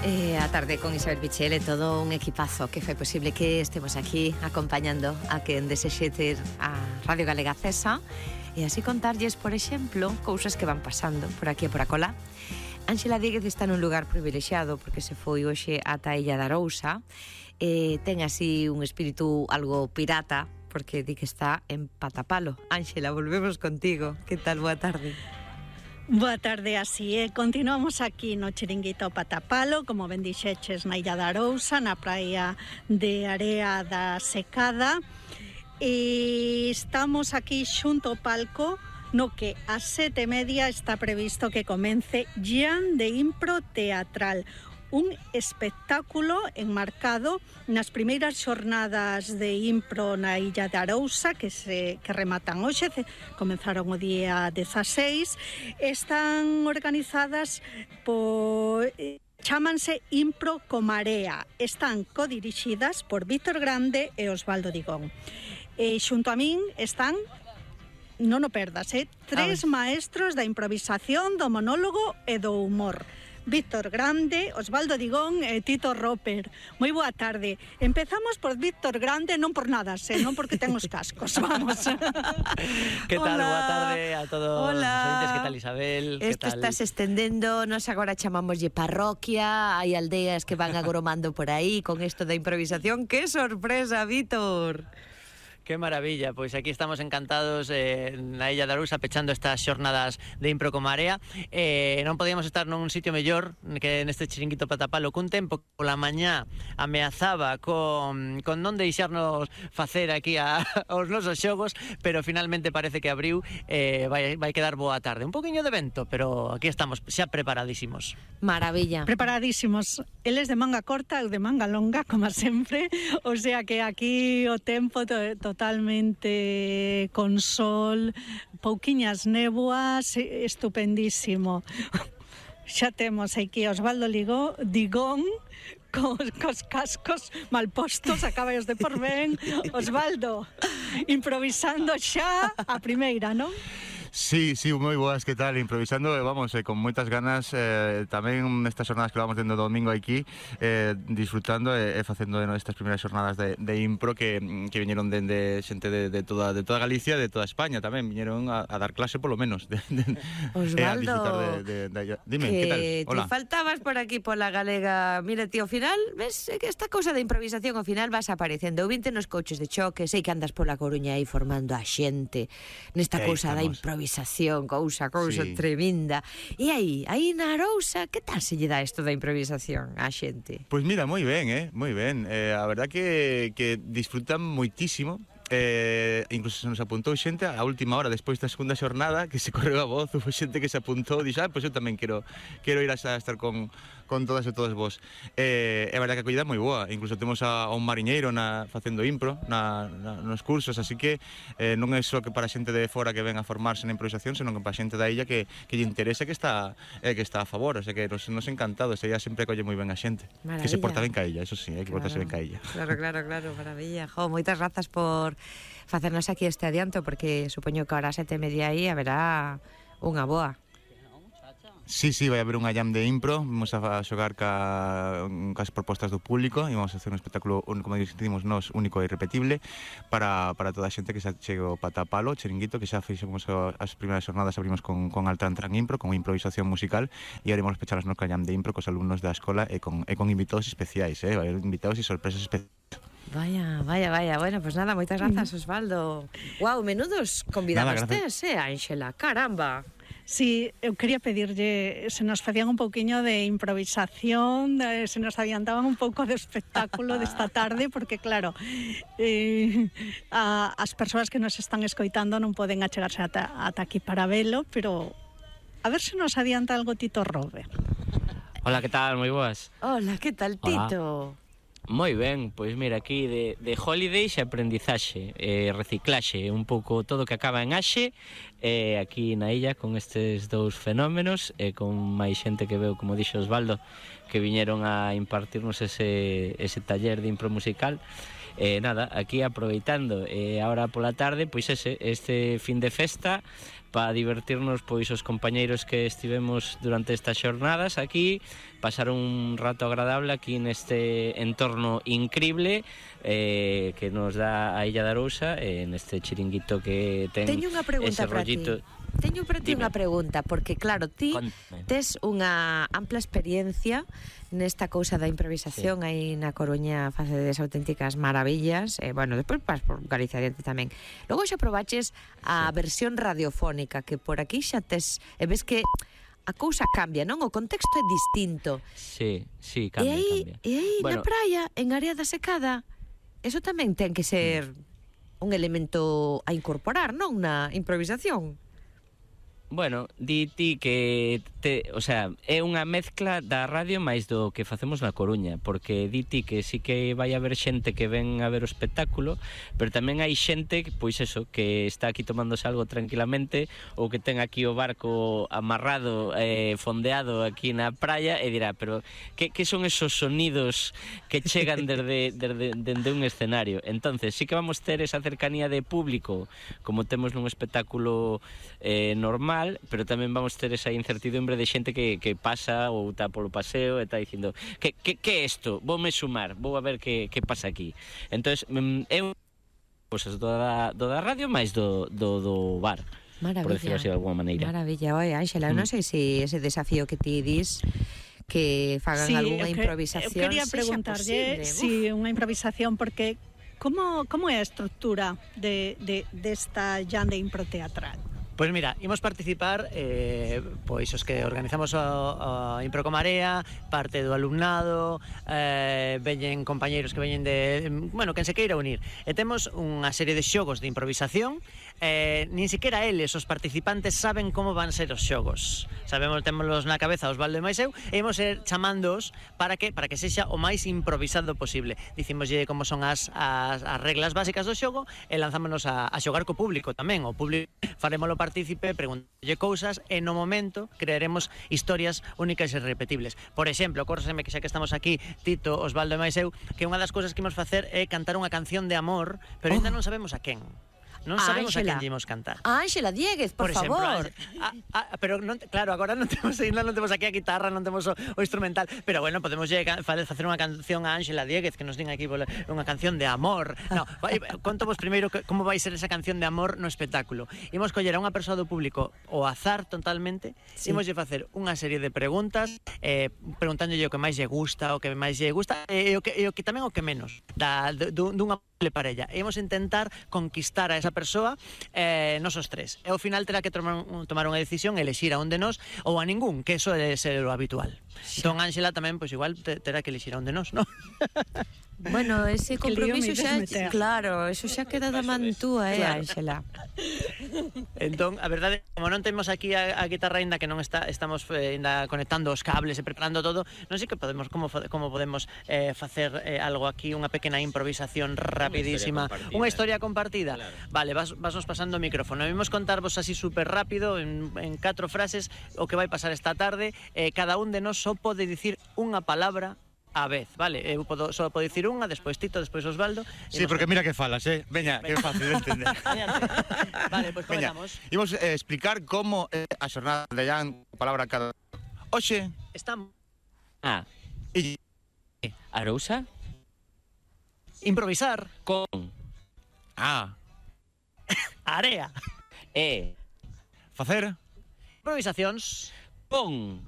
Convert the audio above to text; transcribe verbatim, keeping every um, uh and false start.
Eh, a tarde con Isabel Pichel e todo un equipazo que foi posible que estemos aquí acompañando a quen desexe ter a Radio Galega Acesa e así contarlles, por exemplo, cousas que van pasando por aquí e por acolá. Ánxela Díguez está nun lugar privilexiado porque se foi hoxe ata a Illa de Arousa e ten así un espírito algo pirata porque di que está en Patapalo. Ánxela, volvemos contigo. Que tal? Boa tarde. Boa tarde, así é. Continuamos aquí no Chiringuito Patapalo, como ben dixeches, na Illa de Arousa, na praia de Area da Secada. E estamos aquí xunto ao palco, no que a sete e media está previsto que comence Jam de Impro Teatral, un espectáculo enmarcado nas primeiras xornadas de impro na Illa de Arousa que se que rematan hoxe, comenzaron o día dezaseis, están organizadas por chámanse Impro Comarea, están codirixidas por Víctor Grande e Osvaldo Digón. E xunto a min están, non o perdas, eh, tres maestros da improvisación, do monólogo e do humor. Víctor Grande, Osvaldo Digón e Tito Roper. Moi boa tarde. Empezamos por Víctor Grande, non por nada, senón porque ten os cascos. Vamos. Que tal? Hola. Boa tarde a todos os oyentes. Que tal, Isabel? Isto está se estendendo, nos agora chamámoslle parroquia, hai aldeas que van agromando por aí con isto da improvisación. Que sorpresa, Víctor! Que maravilla, pois aquí estamos encantados eh, na Illa de Arousa pechando estas xornadas de Impro Comarea. Eh, non podíamos estar nun sitio mellor que neste Chiringuito Patapalo, cun tempo pola mañá ameazaba con, con non deixarnos facer aquí a, aos nosos xogos, pero finalmente parece que abriu, eh, vai, vai quedar boa tarde. Un poquinho de vento, pero aquí estamos xa preparadísimos. Maravilla. Preparadísimos. Eles de manga corta, eu de manga longa, como sempre. O sea que aquí o tempo to, totalmente con sol, pouquiñas néboas, estupendísimo. Xa temos aquí Osvaldo Ligó, Digón, cos, cos cascos mal postos, acabaos de por ben. Osvaldo, improvisando xa a primeira, non? Sí, sí, moi boas, que tal? Improvisando, vamos, eh, con moitas ganas, eh, tamén nestas jornadas que vamos tendo domingo aquí, eh, disfrutando e eh, facendo de estas primeiras jornadas de, de impro que, que viñeron dende xente de, de, toda, de toda Galicia, de toda España tamén, viñeron a, a dar clase polo menos. De, de, Osvaldo, de, de, de, de, dime, que que tal? Hola. Te faltabas por aquí pola galega. Mira, tío, ao final, ves que esta cousa de improvisación ao final vas aparecendo. Eu vinte nos coches de choque, sei que andas pola Coruña aí formando a xente nesta cousa da improvisación. improvisación, cousa, cousa sí. tremenda. E aí, aí na Arousa, que tal se lle dá isto da improvisación á xente? Pois mira, moi ben, eh, moi ben. Eh, a verdad que, que disfrutan moitísimo. Eh, incluso se nos apuntou xente a última hora despois da segunda xornada que se correu a voz, foi xente que se apuntou e dixo, ah, pois eu tamén quero quero ir a estar con, con todas e todos vos. Eh, é verdade que a acollida é moi boa, incluso temos a, a un mariñeiro na, facendo impro na, na, nos cursos, así que eh, non é só que para xente de fora que ven a formarse na improvisación, senón que para xente da illa que, que lle interesa que está, eh, que está a favor, o sea que nos, nos encantados, ella sempre acolle moi ben a xente. Maravilla. Que se porta ben ca illa, eso sí, hai que claro, portarse ben ca illa. Claro, claro, claro, maravilla. Jo, moitas grazas por facernos aquí este adianto, porque supoño que ahora a sete e media aí haberá unha boa. Sí, sí, vai haber unha jam de impro, vamos a xogar ca, cas propostas do público e vamos a hacer un espectáculo, como dicimos nós, único e irrepetible para, para toda a xente que xa chega o Patapalo, Chiringuito, que xa fixemos as primeiras jornadas, abrimos con, con Altran Tran Impro, con improvisación musical e haremos pechar as nosa jam de impro cos alumnos da escola e con, e con invitados especiais, eh? Vai haber invitados e sorpresas especiais. Vaya, vaya, vaya. Bueno, pues nada, moitas grazas, Osvaldo. Guau, menudos convidados tes, eh, Ánxela, caramba. Sí, eu quería pedirlle, se nos facían un pouquiño de improvisación, de, se nos adiantaban un pouco de espectáculo desta tarde, porque claro, eh, a, as persoas que nos están escoitando non poden achegarse ata, ata aquí para velo, pero a ver se nos adianta algo Tito Robert. Hola, que tal? Moi boas. Hola, que tal, Tito? Hola. Moi ben, pois mira, aquí de, de holidays e aprendizaxe, eh, reciclaxe, un pouco todo que acaba en axe, eh, aquí na illa con estes dous fenómenos e eh, con máis xente que veo, como dixo Osvaldo, que viñeron a impartirnos ese, ese taller de impro musical. E nada, aquí aproveitando e eh, ahora pola tarde, pois ese, este fin de festa, para divertirnos pois os compañeiros que estivemos durante estas xornadas aquí, pasar un rato agradable aquí neste entorno increíble eh, que nos dá a Illa da Arousa, eh, neste chiringuito que ten Teño unha pregunta ese para rollito. ti. Teño para ti Dime. unha pregunta, porque claro, ti Contame. tes unha ampla experiencia nesta cousa da improvisación, sí. Aí na Coruña facedes auténticas maravillas, e, bueno, despois vas por Galicia adiante tamén. Logo xa probaches a sí. versión radiofónica, que por aquí xa tes, e ves que a cousa cambia, non? O contexto é distinto. Sí, sí, cambia, e aí, cambia. E aí, bueno, na praia, en Área da Secada, eso tamén ten que ser un elemento a incorporar, non? Na improvisación. Bueno, di ti que te, o sea, é unha mezcla da radio máis do que facemos na Coruña, porque di ti que sí que vai haber xente que ven a ver o espectáculo, pero tamén hai xente, pois eso, que está aquí tomándose algo tranquilamente ou que ten aquí o barco amarrado, eh, fondeado aquí na praia e dirá, pero que, que son esos sonidos que chegan desde, desde, desde un escenario? Entonces, sí que vamos ter esa cercanía de público como temos nun espectáculo eh, normal, pero tamén vamos ter esa incertidumbre de xente que, que pasa ou está polo paseo e está dicindo que, que, que é isto? Voume sumar, vou a ver que, que pasa aquí. Entón, é un pues, do, da, do da radio máis do, do, do bar. Maravilla. Por decirlo así de alguma maneira. Maravilla. Oi, Ángela, mm. non sei se ese desafío que ti dis que fagan sí, algunha que, improvisación. Eu quería preguntarlle si sí, unha improvisación, porque como, como é a estrutura de, de, desta llande improteatral? Pois mira, imos participar eh, pois os que organizamos o, o Improcomarea, parte do alumnado, eh, veñen compañeiros que veñen de, bueno, quen se queira unir. E temos unha serie de xogos de improvisación, eh, nin siquiera eles, os participantes, saben como van ser os xogos. Sabemos, témolos na cabeza Osvaldo e máis eu, e imos ir chamándoos para que para que sexa o máis improvisado posible. Dicimoslle como son as, as, as reglas básicas do xogo e lanzámonos a, a xogar co público tamén. O público farémolo partícipe, preguntalle cousas e no momento crearemos historias únicas e repetibles. Por exemplo, córseme que xa que estamos aquí, Tito, Osvaldo e máis eu, que unha das cousas que imos facer é cantar unha canción de amor, pero ainda non sabemos a quen. Non sabemos a quen imos cantar. A Ángela Dieguez, por, por exemplo, favor. A, a, pero non, claro, agora non temos ainda non temos aquí a guitarra, non temos o, o instrumental, pero bueno, podemos facer unha canción a Ángela Dieguez que nos din aquí unha canción de amor. No, conto vos primeiro como vai ser esa canción de amor no espectáculo. Imos coller a unha persoa do público ao azar totalmente, sí. Imos lle facer unha serie de preguntas, eh, preguntándolle o que máis lle gusta, o que máis lle gusta e o que, e o que tamén o que menos da, dunha parella. E imos intentar conquistar a esa persoa eh, nosos tres. E ao final terá que tomar, tomar unha decisión, elexir a un de nós ou a ningún, que eso é ser o habitual. Entón, Ángela tamén, pois igual, terá que elexir a un de nós, non? Bueno, ese compromiso xa, claro, eso xa queda da man túa, eh, Ángela. Entón, a verdade, como non temos aquí a, a guitarra ainda que non está, estamos eh, ainda conectando os cables e preparando todo, non sei que podemos como como podemos eh, facer eh, algo aquí, unha pequena improvisación rapidísima, unha historia compartida. Claro. Vale, vas vasnos pasando o micrófono. Vimos contarvos así super rápido en en catro frases o que vai pasar esta tarde, eh, cada un de nós só pode dicir unha palabra a vez, vale? Eu podo, só podo dicir unha, despois Tito, despois Osvaldo. Sí, porque mira que falas, eh? Veña, que é fácil de entender. Vale, pois pues comenzamos. Imos eh, explicar como é eh, a xornada de Jan, palabra cada... Oxe... Estamos... Ah. E... Arousa? Improvisar. Con... Ah. E... Area. Facer... Improvisacións. Con...